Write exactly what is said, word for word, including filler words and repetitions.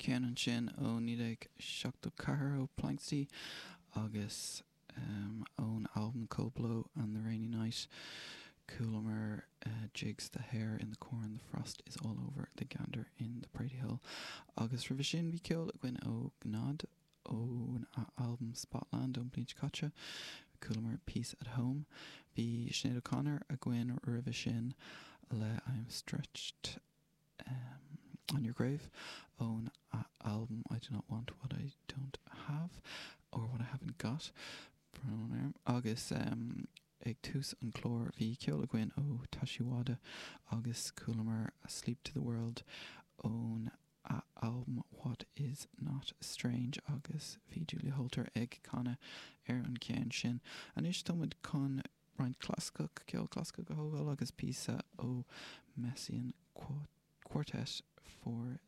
Ceann ansin ó naoi déag seachtó ceathair ó Planxty agus um, ón albam Cold Blow and the Rainy Night chualamar uh, Jigs the Hare in the Corn, the Frost is all over the Gander in the Prairie Hill. Agus roimhe sin bhí ceol againn ó Gnod ón albam Spotland ón bhliain seo caite, chualamar Peace at Home. Bhí Sinéad O'Connor againn roimhe sin le I'm Stretched um, on Your Grave ón album I Do Not Want What I Don't Have or What I Haven't Got agus um, ag tús an chlár bhí ceol againn ó Tashiwada agus chualamar Asleep to the World ón album What is Not Strange agus bhí Julia Holter ag canadh ar an ceann sin. Anois táimid chun roinnt clasaiceach ceol clasaiceach a thógáil agus píosa ó Messiaen Quartet for